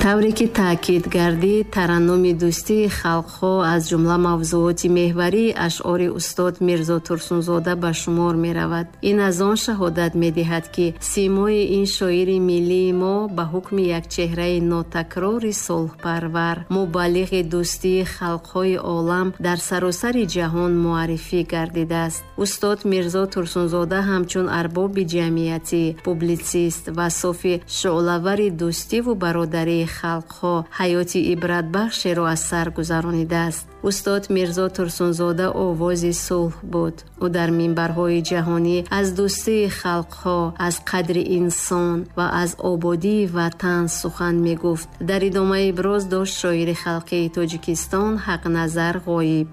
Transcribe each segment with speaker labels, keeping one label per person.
Speaker 1: Тавре ки таъкид гардид, тараннуми дӯстии халқҳо аз ҷумла мавзӯоти меҳварии ашъори устод Мирзо Турсунзода ба шумор меравад. Ин аз он шаҳодат медиҳад, ки симои ин шоири миллии мо ба ҳукми як чеҳраи нотакрори сулҳпарвар, мубаллиғи дӯстии халқҳои олам дар саросари ҷаҳон муаррифӣ гардидааст. Устод Мирзо Турсунзода ҳамчун арбоби ҷамъиятӣ, публитсист ва софи шӯълавари дӯстиву бародарии халқҳо ҳаёти ибратбахшеро аз сар гузаронидааст. Устод Мирзо Турсунзода овози сулҳ буд. Ӯ дар минбарҳои ҷаҳонӣ аз дӯстии халқҳо, аз қадри инсон ва аз ободии ватан сухан мегуфт. Дар идома иброз дошт шоири халқии Тоҷикистон Ҳақназар Ғоиб.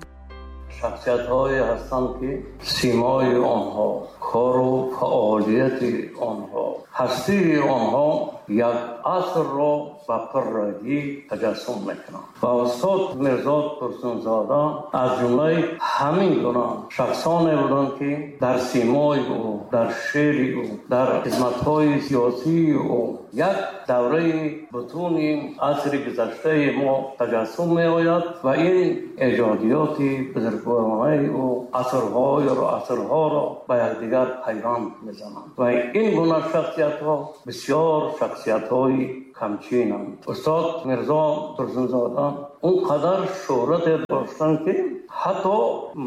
Speaker 2: Шахсиятҳое ҳастанд, ки симои онҳо, кору фаъолияти онҳо, ҳастии онҳо як асрро ба пуррагӣ таҷассум мекунанд. Ва устод Мирзо Турсунзода аз ҷумлаи ҳамин гуна шахсоне буданд, ки дар симои ӯ, дар шеъри ӯ, дар хизматҳои сиёсии ӯ як давраи бутуни асри гузаштаи мо таҷассум меояд ва ин эҷодиёти бузургворонаи ӯ асрҳоро ба якдигар пайванд мезананд. Ва ин гуна шахсиятҳо бисёр шахсиятҳои камчинанд. Устод Мирзо Турсунзода он қадар шӯҳрате доштанд, ки ҳатто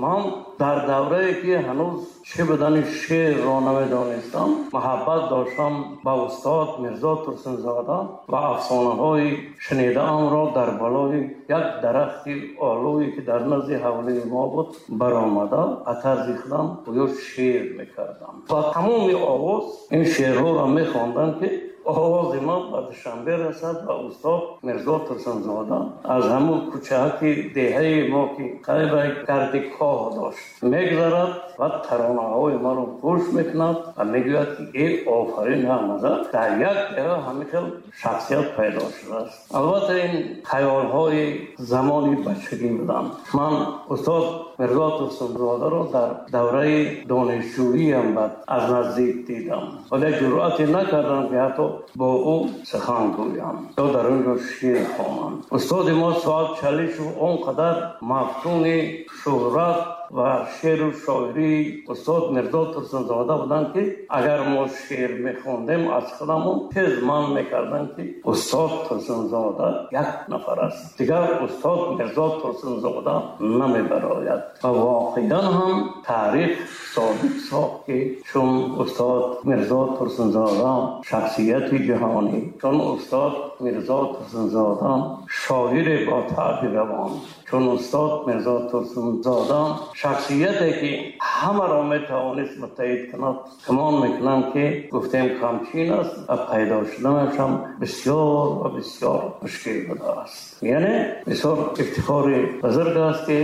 Speaker 2: ман дар даврае ки ҳанӯз чӣ будани шеърро намедонистам, муҳаббат доштам ба устод Мирзо Турсунзода ва афсонаҳои шунидаамро дар болои як дарахти олӯе ки дар назди ҳавлии мо буд баромада ба тарзи худам гӯё шеър мекардам. Ва тамоми овоз ин шеърҳоро мехонданд, ки овози ман ба Душанбе расад ва устод Мирзо Турсунзода аз ҳамун кӯчаки деҳаи мо, ки қариб гарди коҳ дошт, мегузарад ва таронаҳои маро гӯш мекунад ва мегӯяд, ки эй офарин, Ҳақназар, дар як деҳа ҳамин хел шахсият пайдо шудааст. Албатта ин хаёлҳои замони бачагӣ буданд. Ман устод Мирзо Турсунзодаро дар давраи донишҷӯиям баъд аз наздик дидам, вале ҷуръате накардам, ки ҳатто бо ӯ сухан гӯям ё дар он ҷо шеър хонам. Устоди мо Соат Чалишев он қадар мафтуни шӯҳрат ва шеъру шоирии устод Мирзо Турсунзода буданд, ки агар мо шеър мехондем, аз худамон тез манъ мекарданд, ки устод Турсунзода як нафар аст, дигар устод Мирзо Турсунзода намебарояд. Ва воқеан ҳам таърих собит сохт, ки чун устод Мирзо Турсунзода шахсияти ҷаҳонӣ, чун устод Мирзо Турсунзода шоире бо таъби равон, чун устод Мирзо Турсунзода шахсияте ки ҳамаро метавонист муттаҳид кунад, гумон мекунам, ки гуфтем камчин аст ва пайдо шуданаш ҳам бисёр ва бисёр мушкил будааст. Яъне бисёр ифтихори бузург аст, ки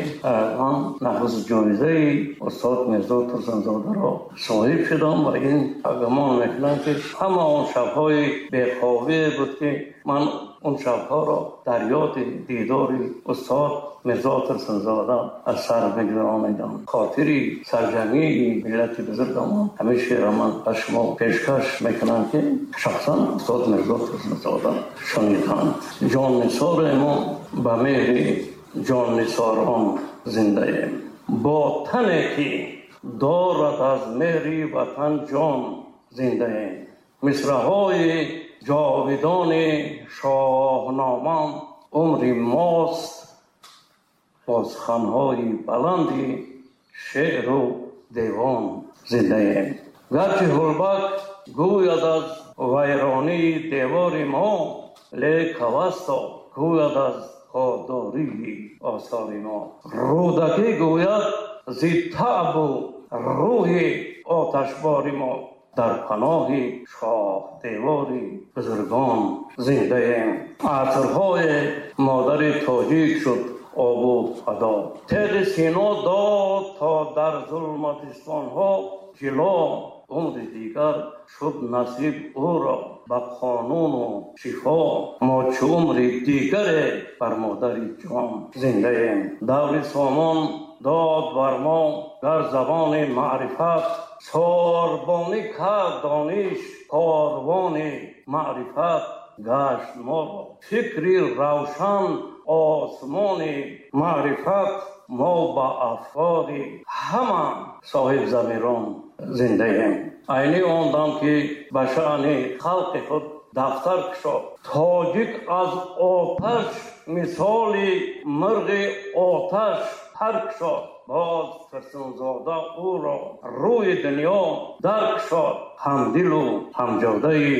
Speaker 2: ман нахуст ҷоизаи устод Мирзо Турсунзодаро соҳиб шудам ва ин гумон мекунам, ки ҳама он шабҳои бехобие буд, ки ман он шабҳоро дар ёди дидори устод Мирзо Турсунзода аз сар мегузаронидам. Хотири сарҷамъии миллати бузургамон ҳамин шеърро ман ба шумо пешкаш мекунам, ки шахсан устод Мирзо Турсунзода шуниданд. Ҷоннисори мо ба меҳри ҷоннисорон зиндаем, бо тане ки дорад аз меҳри ватан ҷон зиндаем. Мисраҳои ҷовидони шоҳнома умри мост, бо суханҳои баланди шеъру девон зиндаем. Гарчи ҳурбак гӯяд аз вайронии девори мо, лек Авесто гӯяд аз подории осори мо. Рӯдакӣ гӯяд зи таъбу рӯҳи оташбори мо, дар паноҳи шоҳ девори бузургон зиндаем. Асрҳои модари тоҷик шуд обу адо, теғи сино дод то дар зулматистонҳо ҷило. Умри дигар шуд насиб ӯро ба қонуну шифо, мо чу умри дигаре бар модари ҷон зиндаем. Даври сомон дод бар мо дар забони маърифат, сорбонӣ кард дониш корвони маърифат. гашт моро. Фикри равшан, осмони маърифат, мо ба афкори ҳама соҳибзамирон зиндаем. Айни он дам ки ба шаъни халқи худ дафтар кушод, тоҷик аз оташ мисоли мурғи оташ пар кушод. Боз Турсунзода ӯро рӯи дунё дар кушод. Ҳамдилу ҳамҷодаи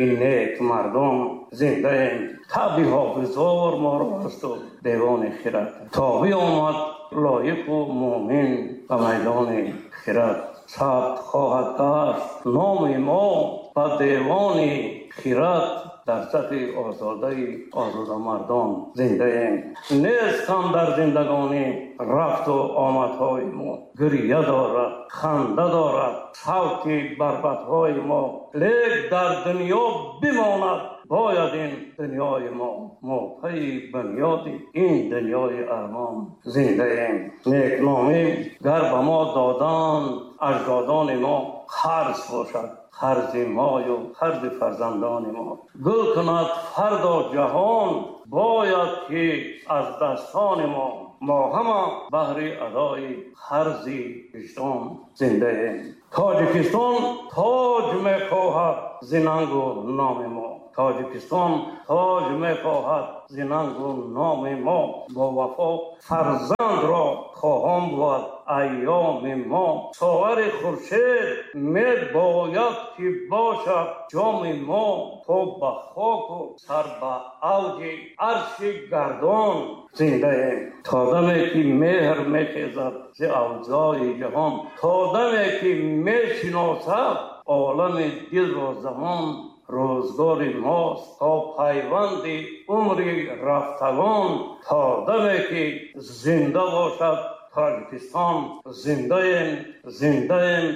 Speaker 2: ин нек мардон зиндаем. Табъи ҳофизор моро асту девони хирад. То биомад лоиқу мӯмин ба майдони хирад. Сабт хоҳад гашт номи мо ба девони хирад. Дар сафи озодаи озодамардон зиндаем. Нест кам дар зиндагонӣ рафту омадҳои мо. Гирья дорад, ханда дорад савти барбатҳои мо. Лек дар дунё бимонад бояд ин дунёи мо. Мо пайи бунёди ин дунёи армон зиндаем. Некномӣ гар ба мо доданд аҷдодони мо, қарз бошад қарзи мою қарзи фарзандони мо. Гул кунад фардо ҷаҳон бояд ки аз дастони мо. Мо ҳама баҳри адои қарзи виҷдон зиндаем. Тоҷикистон тоҷ мехоҳад зи нангу номи мо. Тоҷикистон тоҷ мехоҳад зи нангу номи мо. Бо вафо фарзандро хоҳон буд айёми мо. Соғари хуршед мебояд ки бошад ҷоми мо. То ба хоку сар ба авҷи арши гардон зиндаем. То даме ки меҳр мехезад зи авзои ҷаҳон, то даме ки мешиносад олами дилро замон, рӯзгори мост то пайванди умри рафтагон. То даме ки зинда бошад Тоҷикистон, зиндаем, зиндаем.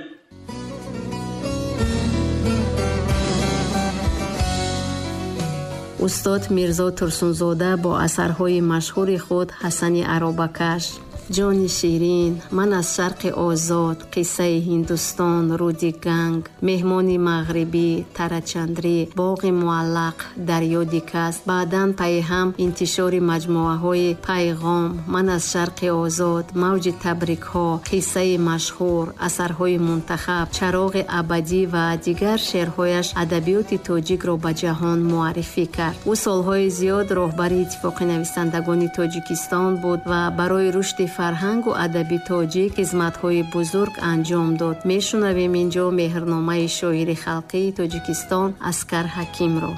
Speaker 1: Устод Мирзо Турсунзода бо асарҳои машҳури худ Ҳасани аробакаш, Ҷони ширин, Ман аз шарқи озод, Қиссаи Ҳиндустон, Рӯди Ганг, Меҳмони мағрибӣ, Тарачандрӣ, Боғи муаллақ, Дар ёди кас, баъдан пайҳам интишори маҷмӯаҳои Пайғом, Ман аз шарқи озод, Мавҷи табрикҳо, Қиссаи машҳур, асарҳои мунтахаб, Чароғи абадӣ ва дигар шеърҳояш адабиёти тоҷикро ба ҷаҳон муаррифӣ кард. Ӯ солҳои зиёд роҳбари Иттифоқи нависандагони Тоҷикистон буд ва барои рушди фарҳангу адаби тоҷик хизматҳои бузург анҷом дод. Мешунавем инҷо меҳрномаи шоири халқии Тоҷикистон Аскар Ҳакимро.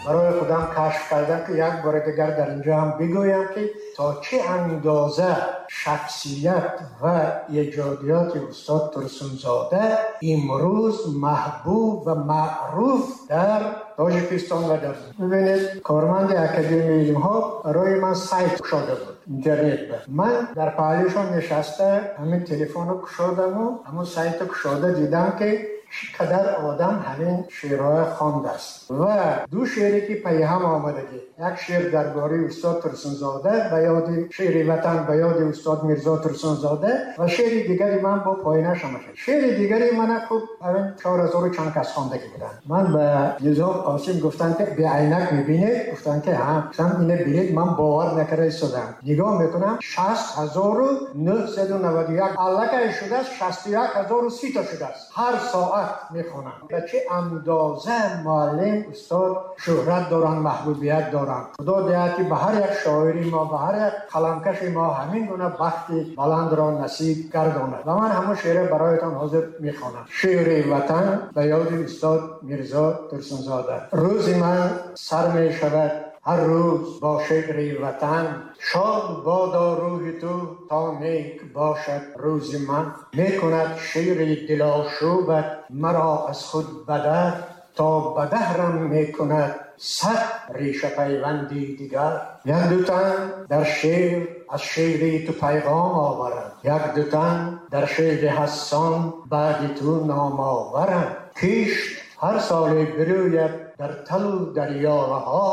Speaker 3: Барои худам кашф кардам, ки як бори дигар дар инҷо ҳам бигӯям, ки то чӣ андоза шахсият ва эҷодиёти устод Турсунзода имрӯз маҳбуб ва маъруф дар Тоҷикистон ва дар. Бибинед, корманди Академияи илмҳо барои ман сайт кушода буд, интернет. Ман дар паҳлӯшон нишаста, ҳамин телефонро кушодаму ҳамон сайтро кушода дидам, ки чӣ қадар одам ҳамин шеърҳоя хондааст. Ва ду шеъре ки пайҳам омадагӣ, як шеър дар бораи устод Турсунзода ба ёди шеъри ватан ба ёди устод Мирзо Турсунзода ва шеъри дигари ман бо поинаш омада. Шеъри дигари мана хуб ҳамин 4000 чанд кас хондагӣ буданд. Ман ба Низом Қосим гуфтам, ки беайнак мебинед? Гуфтам, ки ҳа. Гуфтам, ина бинед, ман бовар накарда истодам, нигоҳ мекунам, 60,991 аллакай шудааст, 61,030 та шудааст. Ҳар соат мехонам. Ба чӣ андоза муаллим устод шӯҳрат доранд, маҳбубият доранд. Худо диҳад, ки ба ҳар як шоири мо, ба ҳар як қаламкаши мо ҳамин гуна бахти баландро насиб гардонад. Ва ман ҳамон шеъра бароятон ҳозир мехонам. Шеъри ватан ба ёди устод Мирзо Турсунзода. Рӯзи ман сар мешавад ҳар рӯз бо шеъри ватан. Шод бодо рӯҳи ту, то нек бошад рӯзи ман. Мекунад шеъри дилошӯбат маро аз худ бадар, то ба даҳрам мекунад сад реша пайванди дигар. Як ду тан дар шеър аз шеъри ту пайғом оваранд, як ду тан дар шеъри Ҳассон баъди ту ном оваранд. Кишт ҳар соле бирӯяд дар талу дарёраҳо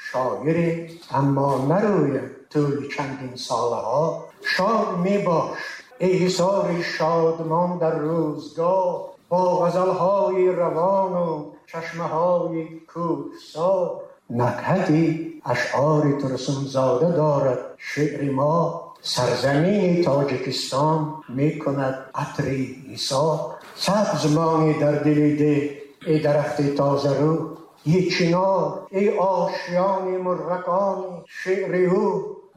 Speaker 3: шоире, аммо нарӯяд тӯли чандин солаҳо. Шод мебош, эй ҳисори шодмон дар рӯзгор, бо ғазалҳои равону чашмаҳои кӯҳсор. Накҳати ашъори Турсунзода дорад шеъри мо, сарзамини Тоҷикистон мекунад атри нисор. Сабз монӣ дар дили деҳ эй дарахти тозарӯ, эй чинор, эй ошёни мурғакони шеъри ӯ.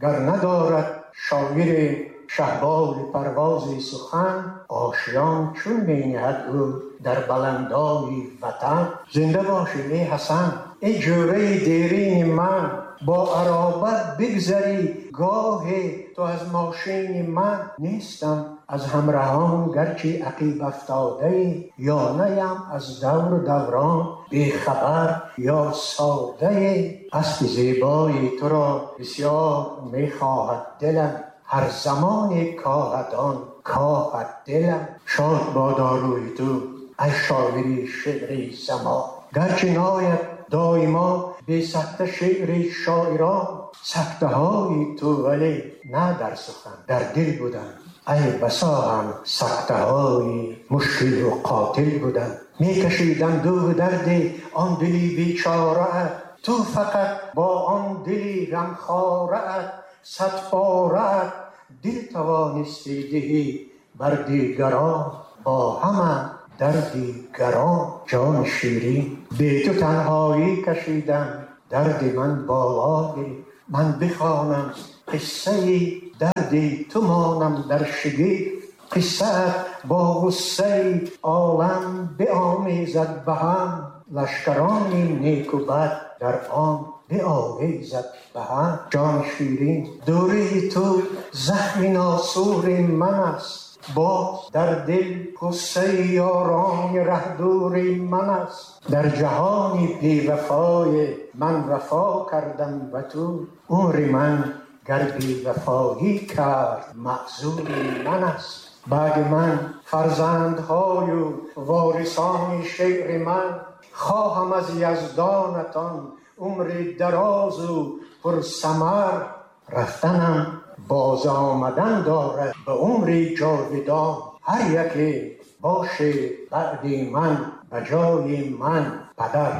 Speaker 3: Гар надорад шоири шаҳболи парвози сухан, ошён чун мениҳад ӯ дар баландои ватан. Зинда бошӣ эй Ҳасан, эй ҷӯраи дерини ман, бо аробат бигзарӣ гоҳе ту аз мошини ман. Нестам аз ҳамраҳон гарчи ақиб афтодае, ё наям аз давру даврон бехабар ё содае. Аспи зебои туро бисёр мехоҳад дилам, ҳар замоне коҳад он коҳад дилам. Шод бодо рӯи ту эй шоири шеъри замон, гарчи нояд доимо бесакта шеъри шоирон. Сактаҳои ту вале на дар сухан, дар дил буданд, эй басо ҳам сактаҳои мушкилу қотил буданд. Мекашидам дуду дарди он дили бечораат, ту фақат бо он дили ғамхораат садпораат дил тавонистӣ диҳӣ бар дигарон, бо ҳама дарди гарон. Ҷони ширин, бе ту танҳоӣ кашидам, дарди ман боло гирифт. Ман бихонам қиссаи дарди ту, монам дар шигифт. Қиссаат бо ғуссаи олам биомезад ба ҳам, лашкарони неку бад дар он биовезад ба ҳам. Ҷони ширин, дурии ту захми носури ман аст, боз дар дил ғуссаи ёрони раҳдури ман аст. Дар ҷаҳони бевафои ман вафо кардам ба ту, умри ман гар бевафоӣ кард маъзури ман аст. Баъди ман фарзандҳою ворисони шеъри ман, хоҳам аз яздонатон умри дарозу пурсамар. Рафтанам боз омадан дорад ба умри ҷовидон, ҳар яке боше баъди ман ба ҷои ман падар.